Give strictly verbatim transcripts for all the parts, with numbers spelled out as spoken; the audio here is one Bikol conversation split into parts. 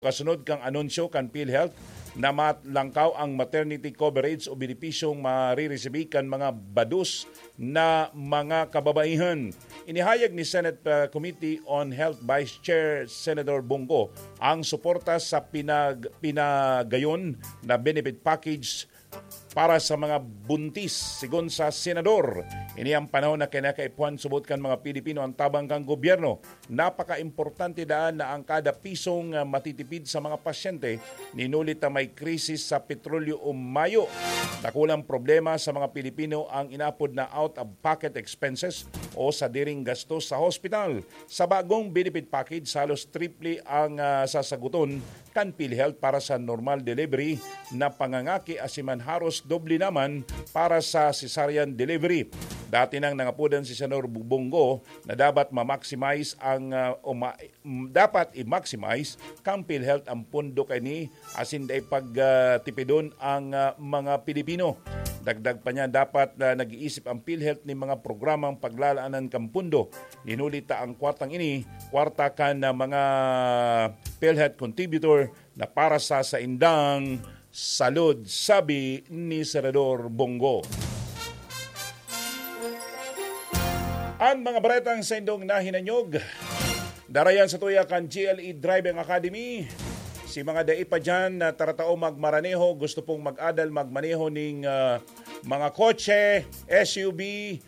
Kasunod kan anunsyo kan PhilHealth na malangkaw ang maternity coverage o benepisyong mariresibi kan mga bados na mga kababaihan. Inihayag ni Senate, uh, Committee on Health Vice Chair Senator Bong Go ang suporta sa pinag-, pinagayon na benefit package para sa mga buntis. Sigon sa senador, ini ang panahon na kinakaipuhan subot kan mga Pilipino ang tabang kan gobyerno. Napaka-importante daan na ang kada pisong, ah, matitipid sa mga pasyente, nin huli ta may krisis sa petrolyo o mayo. Dakulang problema sa mga Pilipino ang inapod na out-of-pocket expenses o sadiring gastos sa hospital. Sa bagong benefit package, halos triple ang, ah, sasaguton kan PhilHealth para sa normal delivery na pangangaki, asin man haros doble naman para sa cesarean delivery. Dati nang nangapodan si Senador Bong Go na dapat ma-maximize ang, ah, o ma-, mm, dapat i-maximize kan PhilHealth ang pondo kaini asin dai pag, ah, tipidon ang, ah, mga Pilipino. Dagdag pa niya, dapat na nag-iisip ang PhilHealth nin mga programang paglalaanan kan pondo. Nin huli ta ang kwartang ini, kwarta kan, ah, mga PhilHealth contributor na para sa saindang salud, sabi ni Senador Bong Go. An mga baretang saindong nahinanyog, darayan sa tuya kan G L E Driving Academy. Si mga dai pa dyan na taratao magmaraneho, gusto pong mag-adal magmaneho ning, ah, mga kotse, S U V,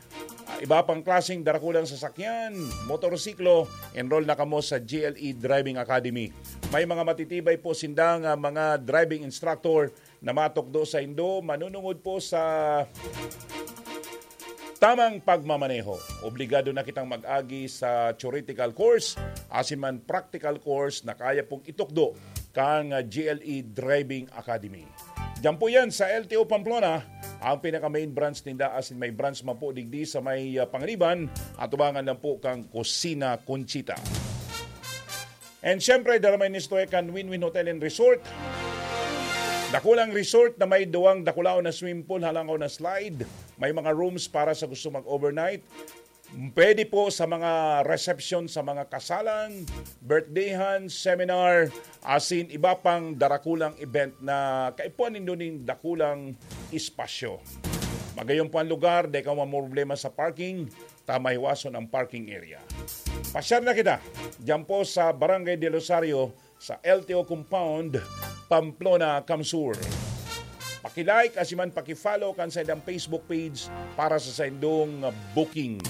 ah, iba pang klaseng darakulang sasakyan, motorsiklo, enroll na kamo sa G L E Driving Academy. May mga matitibay po sindang, ah, mga driving instructor na matukdo saindo, manunungod po sa tamang pagmamaneho. Obligado na kitang mag-agi sa theoretical course, asin man practical course na kaya pong itukdo kan, ah, G L E Driving Academy. Diyan po yan sa L T O Pamplona, ang pinaka-main branch ninda, asin may branch man po digdi sa may, ah, Panganiban, atubangan lang po kan Kusina Conchita. And syempre, dara may nistorya kan Win-Win Hotel and Resort. Dakulang resort na may duwang dakulaon na swimming pool, halangkaw na slide. May mga rooms para sa gusto mag-overnight. Pwede po sa mga reception, sa mga kasalan, birthdayhan, seminar, asin iba pang darakulang event na kaipuhan nindo nin dakulang espasyo. Magayon po ang lugar, dai ka mamroblema sa parking, ta mahiwason ang parking area. Pasyar na kita, diyan po sa Barangay del Rosario, sa L T O Compound, Pamplona, Camsur. Paki-like asin man paki-follow kan saindang Facebook page para sa saindong bookings.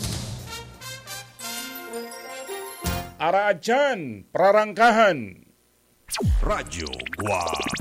Araadyan, prarangkahan. Radyo Guwang.